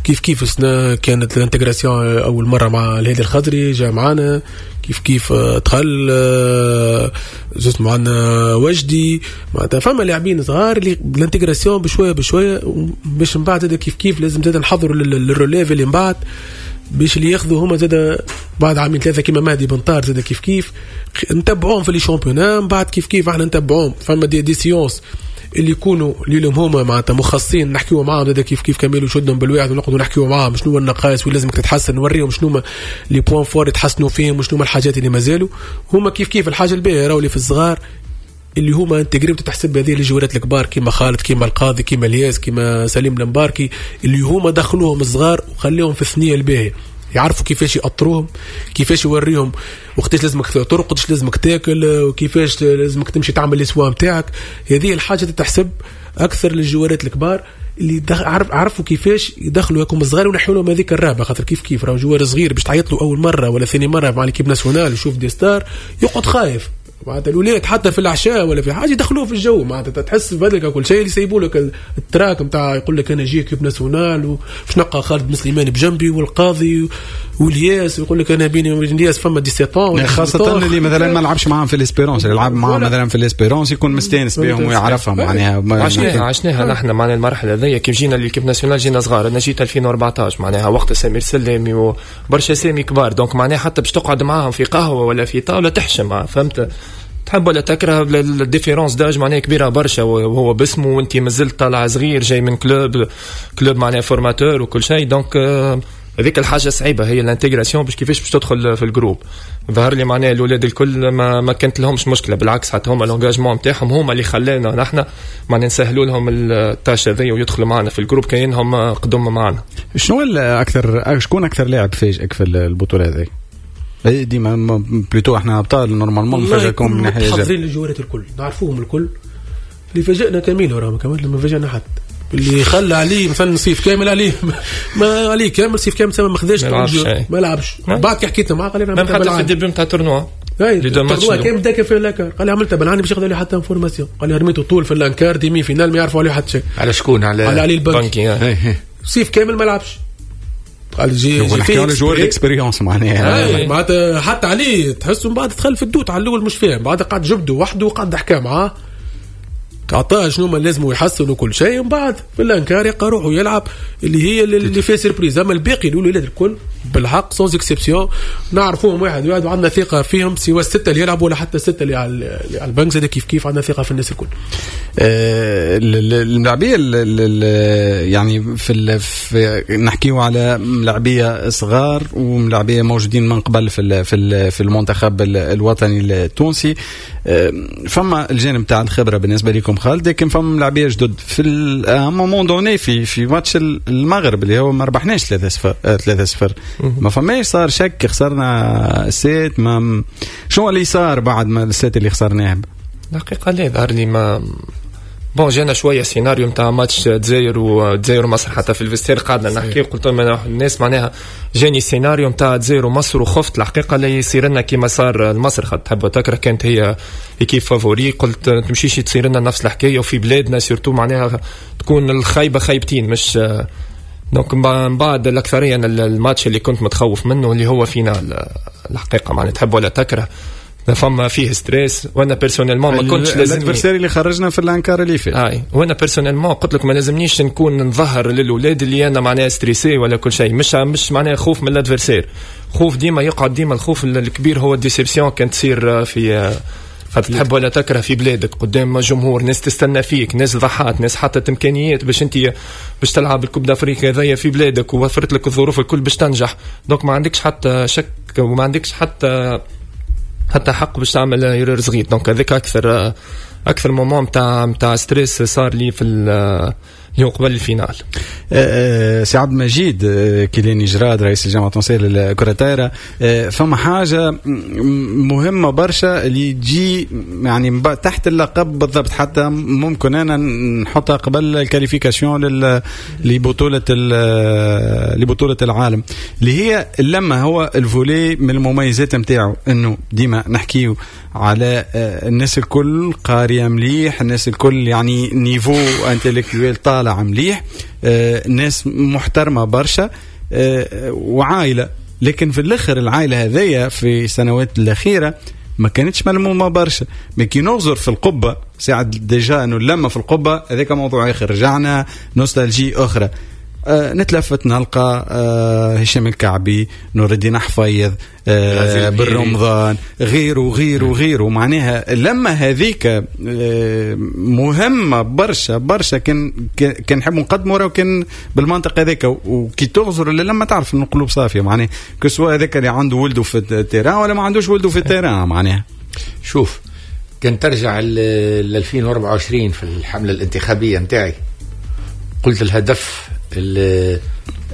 كيف السنة كانت ال intégration اول مرة مع الهادي الخضري جا معانا، كيف دخل زوز معنا وجدي معناتها فما لاعبين صغار اللي ال intégration بشوية بشوية باش من بعد كيف لازم زاد نحضروا لل relève اللي من بعد باش اللي ياخذوا هما زاد بعد عامين ثلاثة كيما مهدي بن طار زاد كيف نتبعوهم في les championnats من بعد كيف احنا نتبعوهم فما des séances اللي يكونوا ليهم هما معناتها مخصصين نحكيو معاهم زاد كيف كملوا شدهم بالواحد ونقعدوا نحكيو معاهم شنو النقائص وين لازمك تتحسن، نوريهم شنو les points forts يتحسنوا فيهم وشنو الحاجات اللي مازالوا هما كيف الحاجة الباهيه راهو اللي في الصغار اللي هما intégrés تحسب هذه الجوارات الكبار كيما خالد كيما القاضي كيما الياس كيما سليم المباركي اللي هما دخلوهم الصغار وخليهم في الثنية الباهيه، يعرفوا كيفاش يأطروهم كيفاش يوريهم وقتاش لازمك ترقد وقتاش لازمك تاكل وكيفاش لازمك تمشي تعمل les soins نتاعك. هذه الحاجة تتحسب اكثر للجوارات الكبار اللي عرفوا كيفاش يدخلوا هاكم الصغار ونحيوا لهم هذيك الرهبة، خاطر كيف راهو joueur صغير باش تعيط له اول مرة ولا ثاني مرة مع l'équipe nationale يشوف des stars يقعد خايف معناتها الولاد حتى في العشاء ولا في حاجة يدخلوه في الجو معناتها تحس بهذاك كل شيء اللي يسيبوا لك ال trac نتاع يقول لك انا جي équipe nationale وباش نلقى خالد بن سليمان بجنبي والقاضي والياس ويقول لك انا بيني وبين الياس فما 17 خاصة اللي مثلا ما لعبش معاهم في l'Espérance، اللي لعب معاهم مثلا في l'Espérance يكون مستانس بهم ويعرفهم معناها. عشناها نحن معنا المرحلة هذيا كيف جينا l'équipe nationale جينا صغار، انا جيت 2014 معناها وقت سمير سلامي وبرشا اسامي كبار، donc معناها حتى باش تقعد معاهم في قهوة ولا في طاولة تحشم، فهمت؟ تحب ولا تكره ال différence d'âge معناها كبيرة برشا، وهو باسمه وانت مازلت طالع صغير جاي من club معناها formateur وكل شيء، donc هذيك الحاجة صعيبة هي ال intégration باش كيفاش باش تدخل في ال groupe. ظهر لي معناها الاولاد الكل ما كانت لهمش مشكلة، بالعكس حتى هما l'engagement نتاعهم هما اللي خلانا نحن معناها نسهلوا لهم ال tâche هذيا ويدخلوا معنا في ال groupe كاينهم قدم معنا. شنو اكثر شكون اكثر لاعب فاجئك في البطولة هذه؟ ديما plutôt احنا ابطال normalement نفاجئكم من ناحية حاضرين الجوارات الكل نعرفوهم الكل، اللي فاجئنا كميل وراهم كمان لما فاجئنا حد اللي خلى عليه مثلا صيف كامل عليه ما عليه كامل صيف كامل ما خذاش ما لعبش. بعد كي حكيت معاه قال لي حتى في ال début نتاع tournoi ال tournoi كان بدا في الانكار قال لي عملتها بالعاني باش ياخذ عليه حتى information، قال لي رميته طول في ال quart demi-finale ما يعرفوا عليه حتى شيء. على شكون؟ على علي البنكي. صيف كامل ما لعبش. قال j'ai fait على joueur d'expérience معناها معناتها حتى عليه تحسه من بعد دخل في ال doute على الاول مش فاهم، بعد قعد جبده وحده وقعد حكى معاه، عطاه شنو ما لازم يحسن وكل شيء، ومن بعد في ال un quart يلقى روحه يلعب اللي هي اللي فيها surprise. اما الباقي الاولاد الكل بالحق sans exception نعرفوهم واحد واحد وعندنا ثقة فيهم، سواء الستة اللي يلعبوا ولا حتى الستة اللي على البنك زاد كيف كيف عندنا ثقة في الناس الكل. الملاعبيه يعني في نحكيو على ملاعبيه صغار وملاعبيه موجودين من قبل في المنتخب الوطني التونسي، فما الجانب تاع الخبرة بالنسبة لكم خالد، لكن فما ملاعبيه جدد في moment donné في ماتش المغرب اللي هو ما ربحناش 3-0 ما فماش صار شك، خسرنا set. ما شو اللي صار بعد ما ال set اللي خسرناه؟ الحقيقة لا ظهر لي ما bon جانا شوية سيناريو نتاع ماتش دزاير ومصر، حتى في ال vestiaire قعدنا نحكي قلت لهم الناس معناها جاني سيناريو نتاع دزاير ومصر وخفت الحقيقة لا يصير لنا كيما صار لمصر، خاطر تحب وتكره كانت هي équipe favorite، قلت تمشيش تصير لنا نفس الحكاية وفي بلادنا surtout معناها تكون الخيبه خيبتين مش donc. من بعد الاكثرية الماتش اللي كنت متخوف منه اللي هو finale الحقيقة معناها تحب ولا تكره فما فيه stress، وانا personnellement ما كنتش لازم ال adversaire اللي خرجنا في ال un quart اللي فات اي، وانا personnellement قلت لك ما لازمنيش نكون نظهر للاولاد اللي انا معناها stressé ولا كل شيء، مش معناها خوف من ال adversaire، خوف ديما يقعد ديما الخوف الكبير هو ال déception كان تصير في خاطر تحب ولا تكره في بلادك قدام جمهور، ناس تستنى فيك، ناس ضحات، ناس حطت امكانيات باش انت باش تلعب ال Coupe d'Afrique هذايا في بلادك ووفرت لك الظروف الكل باش تنجح، donc ما عندكش حتى شك وما عندكش حتى حق باش تعمل erreur صغير. donc هذاك اكثر moment نتاع stress صار لي في اليوم قبل ال finale. سي عبد المجيد كيلاني جراد رئيس الجامعة التونسية للكرة الطايره، فما حاجة مهمة برشا اللي تجي يعني تحت اللقب بالضبط، حتى ممكن انا نحطها قبل ال qualification لبطولة العالم، اللي هي لما هو ال volley من المميزات نتاعو انه ديما نحكيو على الناس الكل قارية مليح، الناس الكل يعني niveau intellectuel طالع مليح، ناس محترمة برشا وعائلة، لكن في الآخر العائلة هذيا في السنوات الأخيرة ما كانتش ملمومة برشا. ما كي نغزر في القبة ساعة déjà أنه لما في القبة هذاك موضوع آخر، رجعنا nostalgie أخرى، نتلفت نلقى هشام الكعبي، نور الدين حفيظ، بالرمضان، غيره غيره غيره. معناها لما هذيك مهمة برشا برشا كان نحب نقدمه راه كان بالمنطق هذاك، وكي تغزر لما تعرف انه قلوب صافية، معناها que ce soit هذاك اللي عنده ولده في ال terrain ولا ما عندوش ولده في ال terrain. معناها شوف كان ترجع ل 2024 في الحملة الانتخابية نتاعي قلت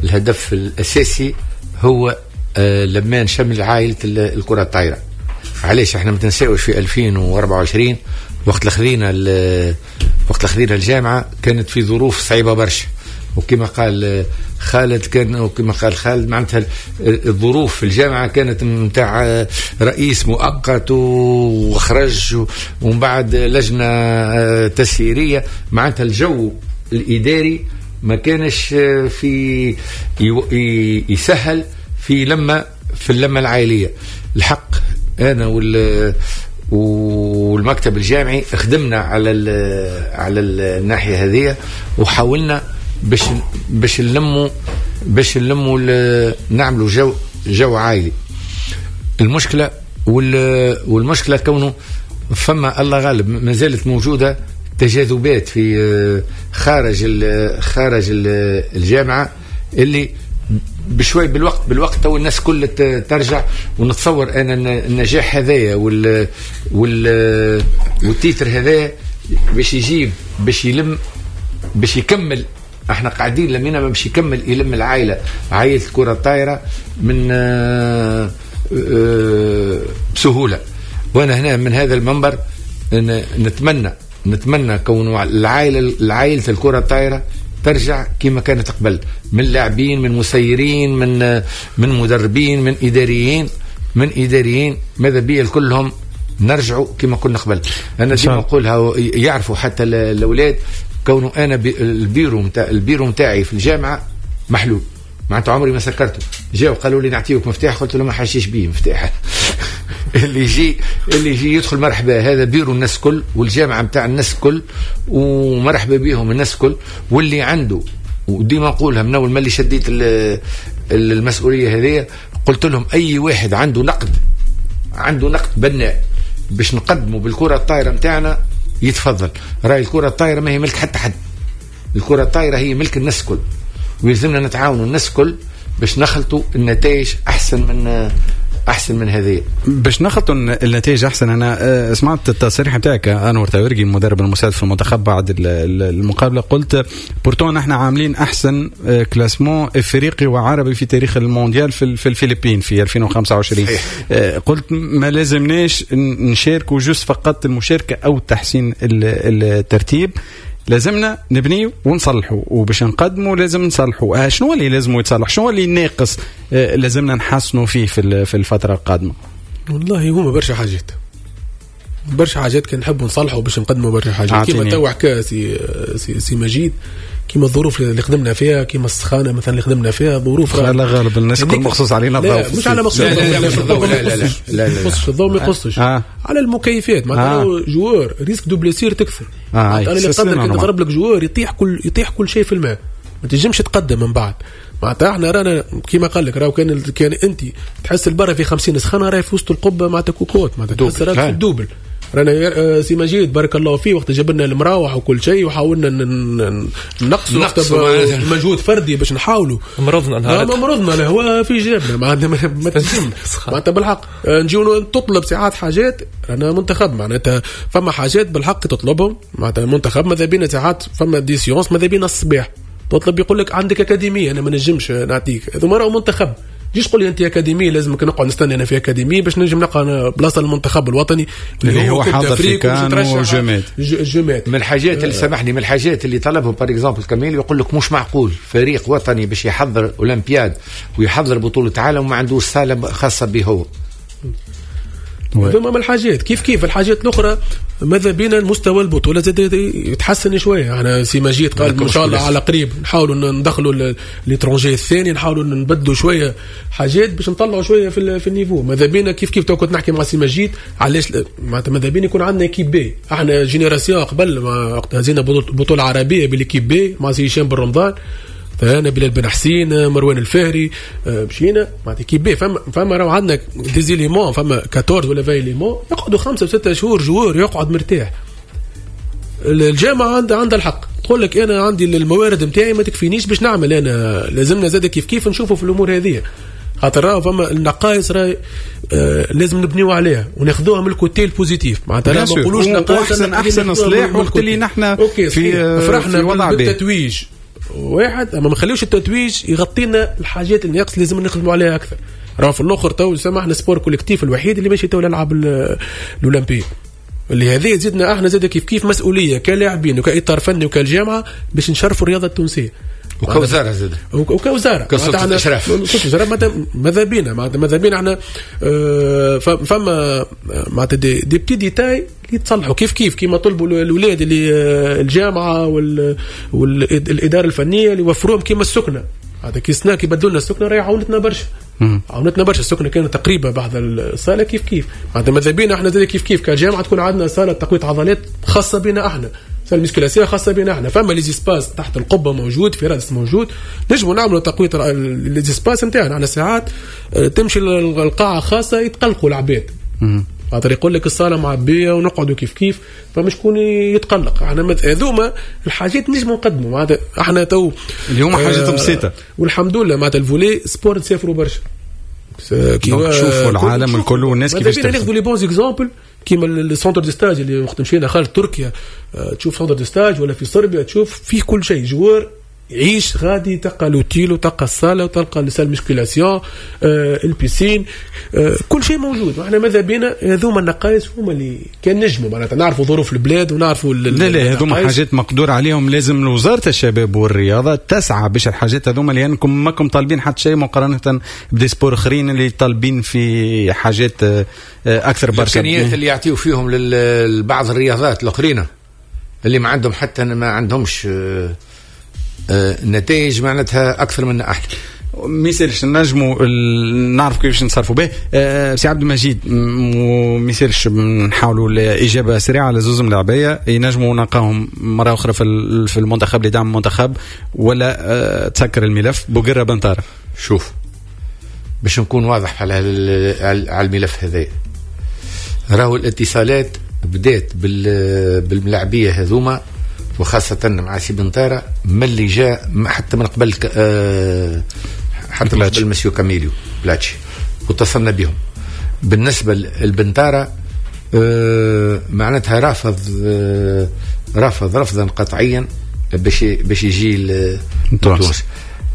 الهدف الأساسي هو لما نشمل عائلة الكرة الطايرة. علاش احنا ما تنساوش في 2024 وقت خذينا الجامعة كانت في ظروف صعيبة برشا، وكما قال خالد كان وكما قال خالد معناتها الظروف في الجامعة كانت نتاع رئيس مؤقت وخرج ومن بعد لجنة تسييرية، معناتها الجو الإداري ما كانش في يسهل في لما في اللمة العائلية. الحق أنا والمكتب الجامعي خدمنا على الناحية هذه، وحاولنا باش نلموا نعملوا جو عائلي. المشكلة والمشكلة كونه فما الله غالب ما زالت موجودة تجاذبات في خارج الجامعة اللي بشوي بالوقت تو الناس كل ترجع. ونتصور انا النجاح هذايا وال titre هذايا باش يجيب باش يلم باش يكمل. احنا قاعدين لمينا باش يكمل يلم العائلة، عائلة الكره الطايره من بسهولة. وانا هنا من هذا المنبر نتمنى كون العائلة الكره الطايره ترجع كما كانت قبل، من لاعبين، من مسيرين، من مدربين، من اداريين، ماذا بيا كلهم نرجعوا كما كنا قبل. انا ديما نقولها يعرفوا حتى الاولاد كونه انا البيرو نتاعي في الجامعة محلول، معناتها عمري ما سكرته. جاوا قالوا لي نعطيوك مفتاح، قلت له ما حاشيش بيه مفتاح. اللي يجي يدخل مرحبا، هذا بيرو الناس كل والجامعة نتاع الناس كل، ومرحبا بيهم الناس كل. واللي عنده، وديما نقولها من اول ما اللي شديت المسؤولية هذه، قلت لهم اي واحد عنده نقد، عنده نقد بناء باش نقدمه بالكرة الطايره نتاعنا يتفضل. راي الكره الطايره ما هي ملك حتى حد، الكره الطايره هي ملك الناس كل، ويلزمنا نتعاونوا الناس كل باش نخلطوا النتائج احسن من هذه. باش نخلطوا النتائج احسن. انا سمعت التصريح نتاعك انور تاورجي المدرب المساعد في المنتخب بعد المقابلة، قلت pourtant نحن عاملين احسن classement افريقي وعربي في تاريخ المونديال في الفلبين في 2025. قلت ما لازمناش نشاركوا juste فقط المشاركة او تحسين الترتيب، لازمنا نبني ونصلحوا، وباش نقدموا لازم نصلحوا. شنو اللي لازم يتصلح؟ شنو اللي ناقص لازمنا نحسنوا فيه في الفترة القادمة؟ والله هما برشا حاجات، برشا حاجات كان نحبوا نصلحوا باش نقدموا برشا حاجات. كيما تو حكى سي مجيد، كيما الظروف اللي خدمنا فيها، كيما السخانه مثلا اللي خدمنا فيها، ظروف لا غالب الناس كل مخصوص علينا الضوء، مش على مخصوص، لا لا لا لا يخصش الضوء، ما يخصش على المكيفات. معناتها joueur risque de blessure تكثر. انا اللي قدر كي تضرب لك joueur يطيح كل شيء في الماء، ما تنجمش تقدم من بعد. معناتها احنا رانا كيما قال لك، راهو كان انت تحس البرا في 50 سخانه، راهي في وسط القبة معناتها كوكوت، معناتها تحس راك في ال double. رانا سي مجيد بارك الله فيه وقت جبنا المراوح وكل شيء، وحاولنا نقصوا مجهود فردي باش نحاولوا. مرضنا نهار، مرضنا الهواء في جيبنا، معناتها ما تنجمش. معناتها بالحق نجيو تطلب ساعات حاجات، رانا منتخب معناتها فما حاجات بالحق تطلبهم. معناتها المنتخب ماذا بينا ساعات فما des séances ماذا بينا الصباح تطلب، يقول لك عندك اكاديمية انا ما نجمش نعطيك، هذوما راهو منتخب. جيش تقول لي انت اكاديمية لازمك نقعد نستنى انا في اكاديمية باش نجم نلقى بلاصة للمنتخب الوطني اللي هو حاضر في كان وجمات. من الحاجات اللي سامحني، من الحاجات اللي طلبهم par exemple كميل، يقول لك مش معقول فريق وطني باش يحضر اولمبياد ويحضر بطوله عالم وما عندوش صاله خاصة به هو. هذوما من الحاجات. كيف الحاجات الاخرى ماذا بينا المستوى البطولة زاد يتحسن شوية. احنا سي مجيد قال ان شاء الله على قريب نحاولوا ندخلوا l'étranger الثاني، نحاولوا نبدلوا شوية حاجات باش نطلعوا شوية في ال niveau. ماذا بينا كيف تو كنت نحكي مع سي مجيد علاش ماذا بينا يكون عندنا équipe B. احنا génération قبل ما وقت هزينا بطوله عربية بال équipe B مع سي هشام بن رمضان، انا بلال بن حسين، مروان الفهري، مشينا معناتها équipe B. فما راهو عندنا des éléments، فما 14 ولا 20 éléments يقعدوا 5 و6 شهور joueur يقعد مرتاح. الجامعة عندها الحق تقول لك انا عندي الموارد نتاعي ما تكفينيش باش نعمل انا، لازمنا زاد كيف نشوفوا في الامور هذه، خاطر راهو فما النقائص راهي لازم نبنيو عليها وناخذوها من ال côté ال positif. معناتها ما نقولوش نقائص، احسن صلاح وقت اللي نحن في فرحنا بالتتويج واحد، اما ما نخليوش التتويج يغطينا الحاجات اللي ناقص، لازم نخدموا عليها اكثر. راه في الاخر تو سامحنا sport collectif الوحيد اللي ماشي تو يلعب الاولمبي، اللي هذه زدنا احنا زاد كيف مسؤولية كلاعبين وكاطار فني وكالجامعه باش نشرفوا الرياضة التونسية وكوزاره زاد وكوزاره كسلطه اشراف. ماذا بينا ماذا بينا احنا فما معناتها des petits détails يتصلحوا كيف كيما طلبوا الاولاد اللي الجامعة والادارة الفنية اللي وفروهم كيما السكنة. هذا كي سنا كي بدلوا لنا السكنة راهي عاونتنا برشا، عاونتنا برشا. السكنة كانت تقريبا بعد الصاله كيف معناتها ماذا بينا احنا زاد كيف كجامعه تكون عندنا صاله تقوية عضلات خاصة بنا احنا، salle musculation خاصة بنا احنا. فما les espaces تحت القبة موجود، في رادس موجود، نجموا نعملوا تقوية les espaces نتاعنا. على ساعات تمشي القاعة خاصة يتقلقوا العباد، خاطر يقول لك الصاله معبيه ونقعدوا كيف فمش شكون يتقلق. احنا هذوما الحاجات نجموا نقدموا معناتها احنا تو اليوم حاجات بسيطة والحمد لله. معناتها ال volley sport نسافروا برشا كي نشوفوا العالم الكل والناس كيفاش ناخذوا les bons exemples كيما ال centre de stage اللي وقت مشينا خارج تركيا، تشوف centre de stage ولا في صربيا تشوف فيه كل شيء. joueur يعيش غادي، تلقى l'hôtel وتلقى الصاله وتلقى ال salle musculation، ال piscine، كل شيء موجود. واحنا ماذا بينا هذوما النقائص هما اللي كان نجموا معناتها نعرفوا ظروف البلاد ونعرفوا لا هذوما حاجات مقدور عليهم. لازم وزارة الشباب والرياضة تسعى باش الحاجات هذوما، لانكم ماكم طالبين حتى شيء مقارنة ب des sports اخرين اللي طالبين في حاجات اكثر برشا. الامكانيات اللي يعطيو فيهم لبعض الرياضات الاخرين اللي ما عندهم حتى ما عندهمش نتائج معناتها اكثر من احنا. ما يسالش نجموا نعرف كيفاش نتصرفوا به. سي عبد المجيد ما يسالش نحاولوا الاجابة سريعة على زوز ملاعبيه ينجموا نلقاهم مرة اخرى في المنتخب لدعم المنتخب ولا تسكر الملف. بوقرة بنطارة. شوف باش نكون واضح على الملف هذا، راهو الاتصالات بدات بالملاعبيه هذوما وخاصة مع سي بنطارة من اللي جاء حتى من قبل حتى من قبل مسيو كاميليو بلاتشي واتصلنا بهم. بالنسبة للبنطارة معناتها رافض رفضا قطعيا باش يجي لتونس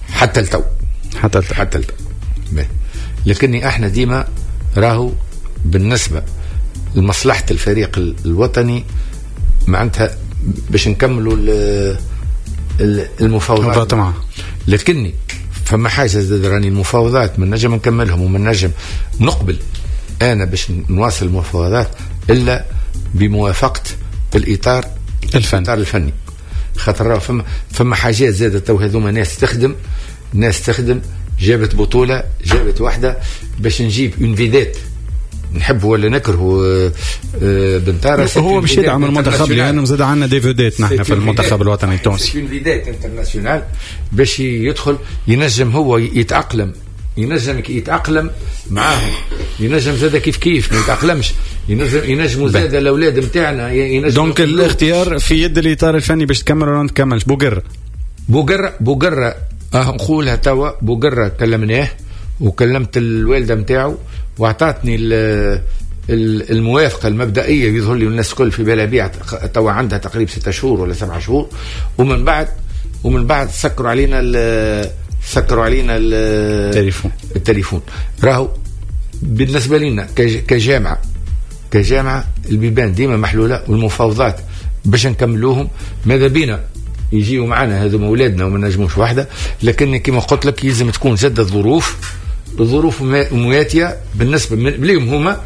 حتى التو حتى التو. لكني احنا ديما راهو بالنسبة لمصلحة الفريق الوطني معناتها باش نكملوا المفاوضات. لكني فما حاجة زاد راني المفاوضات من نجم نكملهم ومن نجم نقبل انا باش نواصل المفاوضات الا بموافقة الاطار الفني. خاطر فما حاجات زادت تو هذوما ناس تخدم جابت بطوله، جابت واحدة باش نجيب une vedette نحبه ولا نكرهه بنطارة هو باش يدعم المنتخب لانه زاد عندنا des vedettes نحن في المنتخب الوطني التونسي. une vedette internationale باش يدخل ينجم هو يتاقلم، ينجم يتاقلم معاهم، ينجم زاد كيف ما يتاقلمش، ينجموا زاد الاولاد نتاعنا ينجم. donc الاختيار في يد الاطار الفني باش تكمل ولا ما تكملش. بوقرة نقولها توا، بوقرة كلمناه وكلمت الوالدة نتاعو واعطتني الموافقة المبدئية، يظهر لي الناس الكل في بالها بيع توا عندها تقريبا 6 شهور ولا 7 شهور، ومن بعد سكروا علينا التليفون. راهو بالنسبة لنا كجامعه البيبان ديما محلولة والمفاوضات باش نكملوهم، ماذا بينا يجيوا معنا هذو اولادنا وما نجموش واحدة، لكن كما قلت لك يلزم تكون زاد الظروف مواتيه بالنسبة لهم هما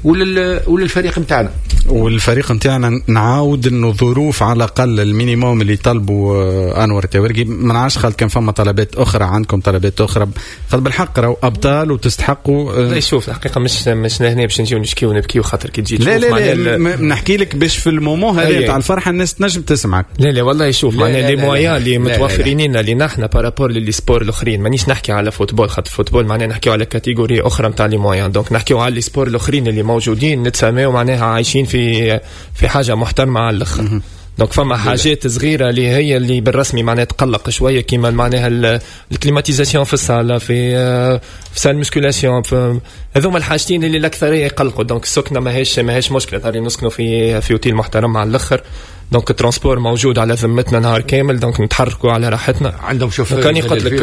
وللفريق نتاعنا. والفريق نتاعنا نعاود انه ظروف على الاقل ال minimum اللي طلبوا انور التوارقي، ما نعرفش خالد كان فما طلبات اخرى عندكم، طلبات اخرى خاطر بالحق راهو ابطال وتستحقوا. لا شوف الحقيقة مش هنا باش نجيو نشكيو ونبكيو خاطر كي تجي لا لا لا نحكي لك باش في ال moment هذا تاع الفرحة الناس تنجم تسمعك. لا لا والله شوف معناها les moyens اللي متوفرين لنا اللي نحن par rapport les sports الاخرين، مانيش نحكي على football خاطر football معناها نحكيو على catégorie اخرى نتاع les moyens، donc نحكيو على les sports الاخرين اللي موجودين نتساماو معناها عايشين في حاجة محترمه على الاخر. donc فما حاجات صغيرة اللي هي اللي بالرسمي معناها تقلق شوية، كيما معناها ال climatisation في الصاله، في salle musculation، هذوما الحاجتين اللي الاكثرية يقلقوا. donc السكنة ماهيش مشكلة، تاري نسكنوا في اوتيل محترم على الاخر، donc ال transport موجود على ذمتنا نهار كامل، donc نتحركوا على راحتنا. عندهم شوف كان قلت لك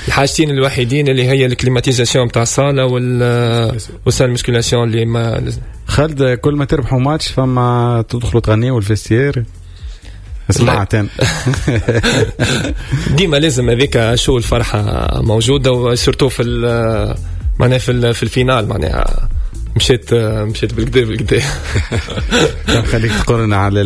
الحاجتين الوحيدين اللي هي ال climatisation تاع الصاله وال salle musculation اللي ما خالد كل ما تربحوا ماتش فما تدخلوا تغنيوا ال vestiaire سمعت انا ديما لازم هذيك شو الفرحة موجودة، و surtout في معناها في ال finale معناها مشيت بالكدا. خليك تقولنا على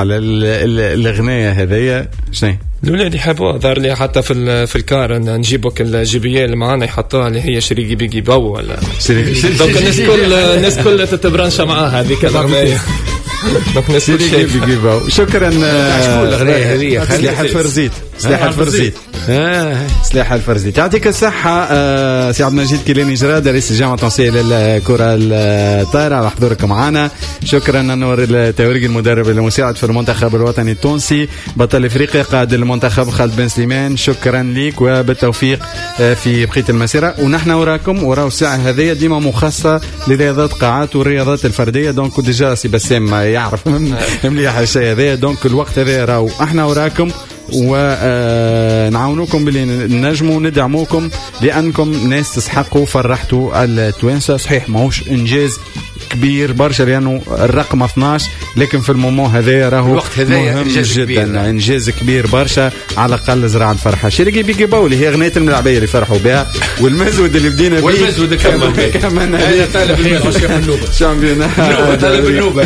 الاغنية هذيا شنو؟ الاولاد يحبوها، ظهر لي حتى في ال car نجيبوك ال JBL اللي معانا يحطوها اللي هي شريكي بيجي باو ولا donc الناس كل تتبرنش معاها هذيك الاغنية. donc الناس شريكي بيجي باو. شكرا. شكون الاغنية هذه؟ سلاح الفرزيت. سلاح الفرزيت. سلاح الفرزيت. يعطيك الصحة سي عبد المجيد كيلاني جراد رئيس الجامعة التونسية للكرة الطائرة على حضورك معنا. شكرا أنور التوارقي المدرب المساعد في المنتخب الوطني التونسي بطل افريقيا قائد المنتخب خالد بن سليمان، شكرا لك وبالتوفيق في بقية المسيرة. ونحن وراكم وراو الساعة هذه ديما مخصصة لرياضات قاعات والرياضات الفردية، donc déjà سي بسام يعرف مليح الشيء هذا، donc الوقت هذا راهو احنا وراكم ونعاونوكم باللي نجموا ندعموكم لانكم ناس تسحقوا فرحتوا التوانسة. صحيح ماهوش انجاز كبير برشا لانه الرقم 12، لكن في ال moment هذا راهو مهم جدا كبير. انجاز كبير برشا على الاقل زرع الفرحة. شريكي بيجي باولي هي اغنية الملعبيه اللي فرحوا بها، والمزود اللي بدينا به والمزود كمان هذا طالب النوبة championnat طالب النوبة.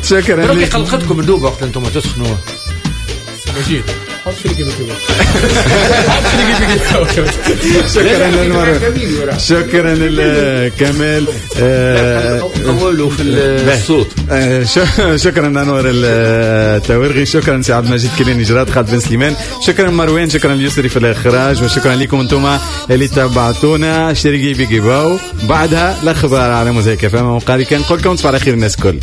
شكرا لك. قلقتكم النوبة وقت انتم تسخنوا مجيد. حط شريكي بيكي. شكرا للمروان، شكرا لكمال. قولوا في الصوت. شكرا انور التورغي، شكرا سي عبد المجيد كيلاني جراد، خالد بن سليمان، شكرا مروان، شكرا اليسري في الاخراج، وشكرا لكم انتم اللي تبعتونا. شريكي بيجي باو، بعدها الاخبار على موزايك اف ام. وقالي كان نقول لكم تصبحوا على خير الناس الكل.